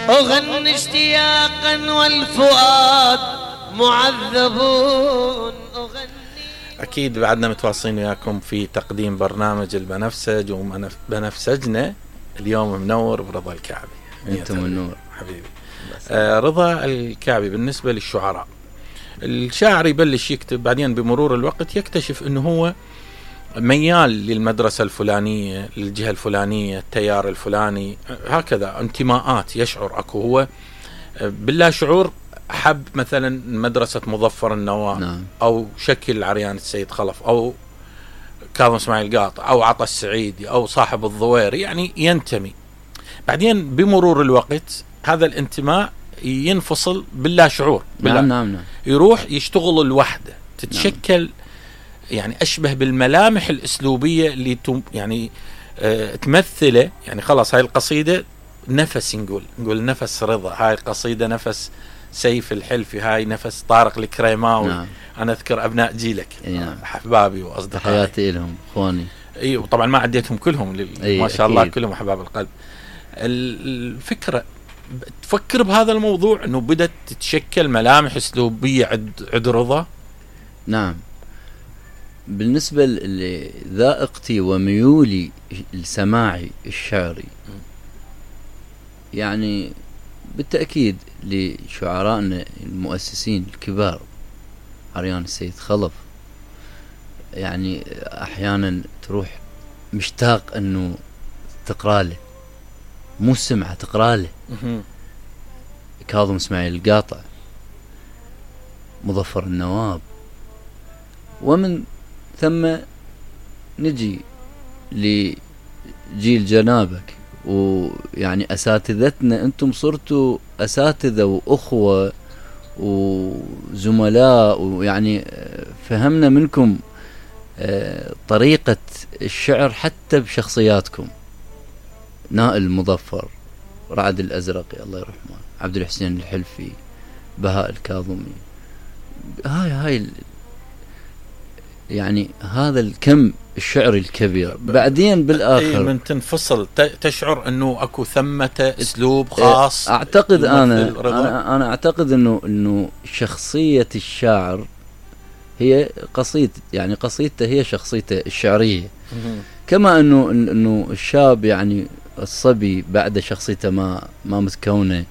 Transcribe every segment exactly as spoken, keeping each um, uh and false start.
أغني اشتياقا والفؤاد معذبون. أغني أكيد بعدنا متواصلين وياكم في تقديم برنامج البنفسج، وبنفسجنا اليوم منور برضا الكعبي. أنتم النور حبيبي. آه رضا الكعبي بالنسبة للشعراء، الشاعر يبلش يكتب، بعدين بمرور الوقت يكتشف أنه هو ميال للمدرسة الفلانية، للجهة الفلانية، التيار الفلاني، هكذا انتماءات يشعر أكو هو بالله شعور. حب مثلا مدرسة مظفر النواة، نعم. أو شكل عريان السيد خلف، أو كاظم اسماعيل قاطع، أو عطا السعيدي، أو صاحب الضويري، يعني ينتمي. بعدين بمرور الوقت هذا الانتماء ينفصل بالله شعور، بالله. نعم نعم نعم. يروح يشتغل الوحدة، تتشكل نعم. يعني أشبه بالملامح الأسلوبية اللي تم يعني آه تمثله. يعني خلاص هاي القصيدة نفس، نقول نقول نفس رضا، هاي القصيدة نفس سيف الحلفي، هاي نفس طارق الكريماوي. نعم. أنا أذكر أبناء جيلك، نعم. أحبابي وأصدقائي، حياتي لهم إخواني. أي وطبعا ما عديتهم كلهم، ما شاء الله كلهم أحباب القلب. الفكرة تفكر بهذا الموضوع أنه بدأت تتشكل ملامح أسلوبية عند عند رضا. نعم، بالنسبة لذائقتي وميولي السماعي الشعري، يعني بالتأكيد لشعرائنا المؤسسين الكبار، عريان السيد خلف، يعني أحيانا تروح مشتاق أنه تقرأ له، مو السمعة تقرأ له. كاظم اسماعيل القاطع، مظفر النواب، ومن ثم نجي لجيل جنابك، ويعني أساتذتنا. أنتم صرتوا أساتذة وأخوة وزملاء، ويعني فهمنا منكم طريقة الشعر حتى بشخصياتكم. نائل مظفر، رعد الأزرقي الله يرحمه، عبد الحسين الحلفي، بهاء الكاظمي، هاي هاي يعني هذا الكم الشعري الكبير. بعدين بالآخر من تنفصل تشعر أنه أكو ثمة أسلوب خاص. أعتقد أنا, أنا أنا أعتقد أنه أنه شخصية الشاعر هي قصيد، يعني قصيدته هي شخصيته الشعرية. كما أنه أنه الشاب يعني الصبي بعد شخصيته ما ما متكونة،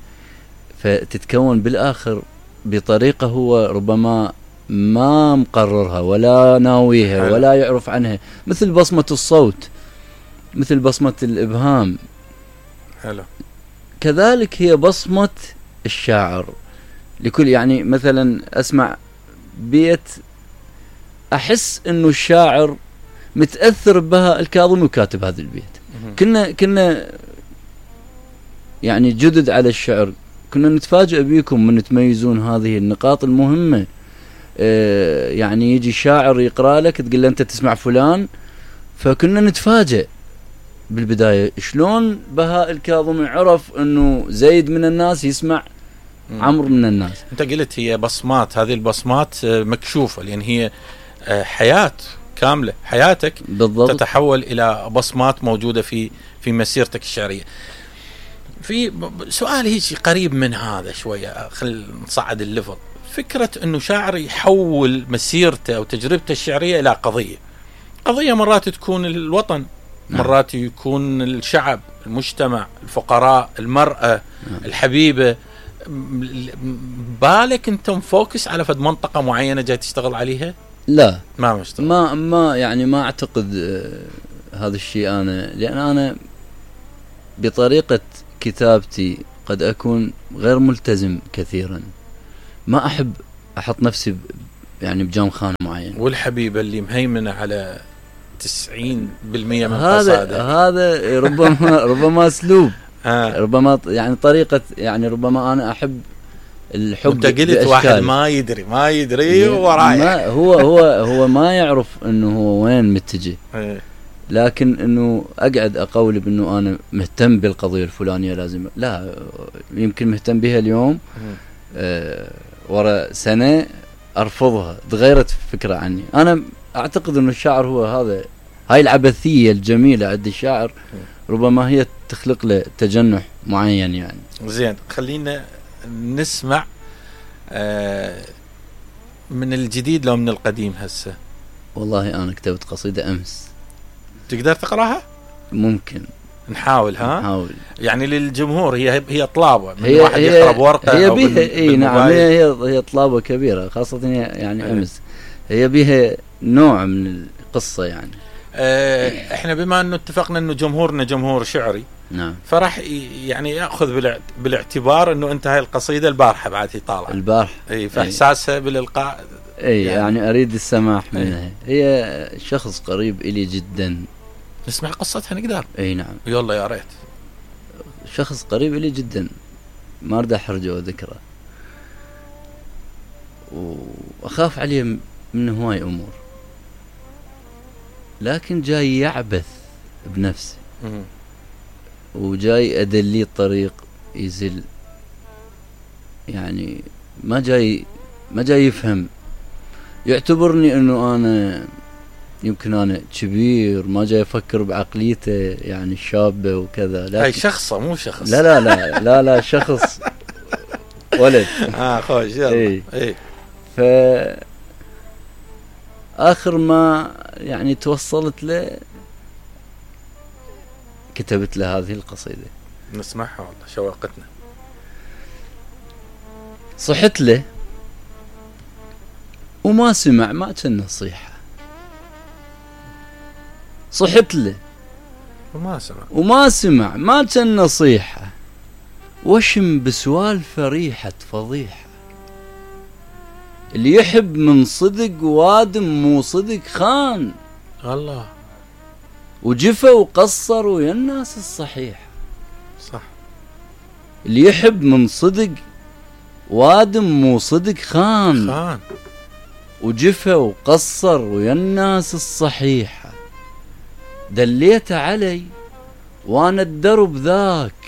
فتتكون بالآخر بطريقة هو ربما ما مقررها ولا ناويها حلو. ولا يعرف عنها، مثل بصمة الصوت، مثل بصمة الإبهام. حلو. كذلك هي بصمة الشاعر لكل، يعني مثلا أسمع بيت أحس إنه الشاعر متأثر بها الكاظمي وكاتب هذا البيت. كنا كنا يعني جدد على الشعر، كنا نتفاجأ بيكم من تميزون هذه النقاط المهمة. آه يعني يجي شاعر يقرأ لك تقول له أنت تسمع فلان، فكنا نتفاجأ بالبداية شلون بهاء الكاظمي عرف أنه زيد من الناس يسمع عمرو من الناس. أنت قلت هي بصمات، هذه البصمات مكشوفة، لأن هي حياة كاملة، حياتك بالضبط تتحول إلى بصمات موجودة في في مسيرتك الشعرية. في سؤال هيك قريب من هذا شوية، خل نصعد الليفل. فكرة أنه شاعر يحول مسيرته أو تجربته الشعرية إلى قضية. قضية مرات تكون الوطن، مرات يكون الشعب، المجتمع، الفقراء، المرأة، الحبيبة. بالك أنت مفوكس على فد منطقة معينة جاي تشتغل عليها؟ لا، ما مشتغل. ما ما يعني ما أعتقد آه هذا الشيء. أنا لأن أنا بطريقة كتابتي قد أكون غير ملتزم كثيرا، ما أحب أحط نفسي يعني بجام خانة معين. والحبيبة اللي مهيمنة على تسعين بالمئة من هذا قصائدك، هذا ربما ربما أسلوب ربما يعني طريقة، يعني ربما أنا أحب الحب. انت قلت واحد ما يدري ما يدري ورايح، هو هو هو ما يعرف انه هو وين متجه، لكن انه اقعد اقول بانه انا مهتم بالقضيه الفلانيه لازم، لا، يمكن مهتم بها اليوم آه ورا سنه ارفضها، تغيرت فكره عني. انا اعتقد انه الشاعر هو هذا، هاي العبثيه الجميله عند الشاعر ربما هي تخلق له تجنح معين يعني. زين، خلينا نسمع آه من الجديد لو من القديم هسه. والله انا كتبت قصيدة امس. تقدر تقراها؟ ممكن نحاول. ها نحاول يعني للجمهور، هي هي طلابه من هي واحد هي يقرا بورقه هي أو بيها اي نعم، هي هي طلابه كبيره خاصه يعني أيه. امس هي بيها نوع من القصه يعني. اه احنا بما انه اتفقنا انه جمهورنا جمهور شعري، نعم، فراح يعني ياخذ بالاعتبار انه انت هاي القصيده البارحه بعد هي طالعه البارحه، اي فاحساسها بالالقاء اي يعني, يعني اريد السماح منها. هي شخص قريب الي جدا. نسمع قصتها نقدر؟ اي نعم يلا يا ريت. شخص قريب الي جدا ما اريد احرجه وذكره، واخاف عليه من هواي امور، لكن جاي يعبث بنفسه وجاي ادليه الطريق يزل، يعني ما جاي ما جاي يفهم، يعتبرني انه انا يمكن انا كبير ما جاي افكر بعقليته يعني الشابه وكذا. لا هاي شخصه مو شخص. لا لا لا لا لا شخص ولد. اه خوش يلا. اي اي ف اخر ما يعني توصلت له كتبت له هذه القصيده. نسمعها والله شوقتنا. صحت له وما سمع ما كان نصيحه، صحت له وما سمع وما سمع ما كان نصيحه، وشم بسوالفه ريحه فضيحه، اللي يحب من صدق وادم مو صدق خان، الله وجفى وقصر ويا الناس الصحيحه. صح، اللي يحب من صدق وادم مو صدق خان خان، وجفى وقصر ويا الناس الصحيحه، دليت علي وانا الدرب ذاك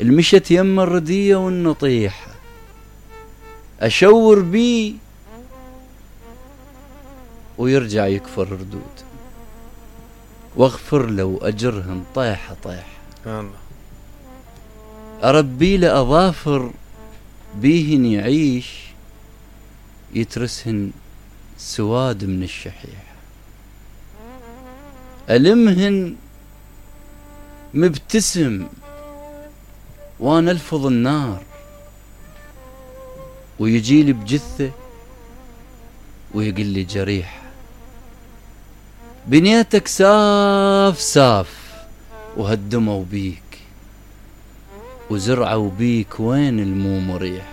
المشت يم الرديه والنطيحه، اشور بيه ويرجع يكفر ردود، واغفر له واجرهن طيحه طيحه، الله اربي له اظافر بيهن يعيش يترسهن سواد من الشحيحه، ألمهن مبتسم وانا الفظ النار، ويجيلي بجثة ويقول لي جريحة، بنيتك ساف ساف وهدموا بيك، وزرعوا بيك وين المو مريح،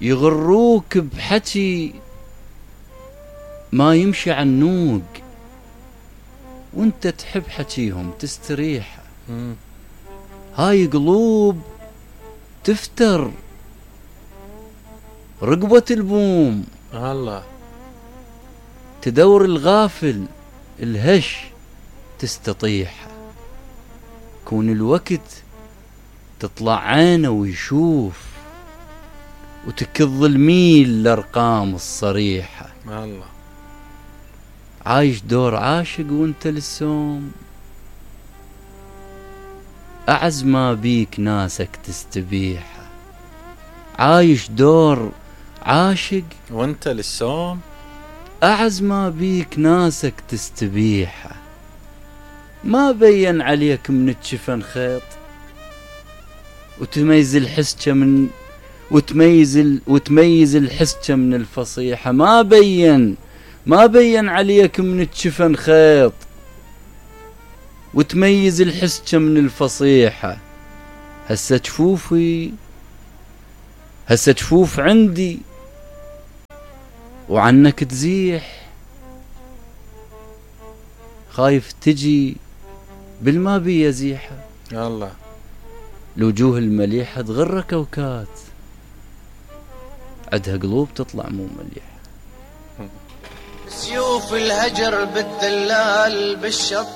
يغروك بحكي ما يمشي عنوق، وانت تحب حكيهم تستريح، هاي قلوب تفتر رقبة البوم، الله تدور الغافل الهش تستطيح، كون الوقت تطلع عينه ويشوف، وتكظ الميل الارقام الصريحه، الله عايش دور عاشق وانت للسوم، اعز ما بيك ناسك تستبيحه، عايش دور عاشق وانت للسوم، اعز ما بيك ناسك تستبيحه، ما بين عليك من الجفن خيط، وتميز الحسكه من وتميز ال... وتميز الحسكه من الفصيحه، ما بين ما بين عليك من الجفن خيط، وتميز الحسكه من الفصيحه، هسه جفوفي هسه جفوف عندي وعنك تزيح، خايف تجي بالما بي يزيحه، الله الوجوه المليحه تغر كوكات، عدها قلوب تطلع مو مليحه، سيوف الهجر بالدلال بالشط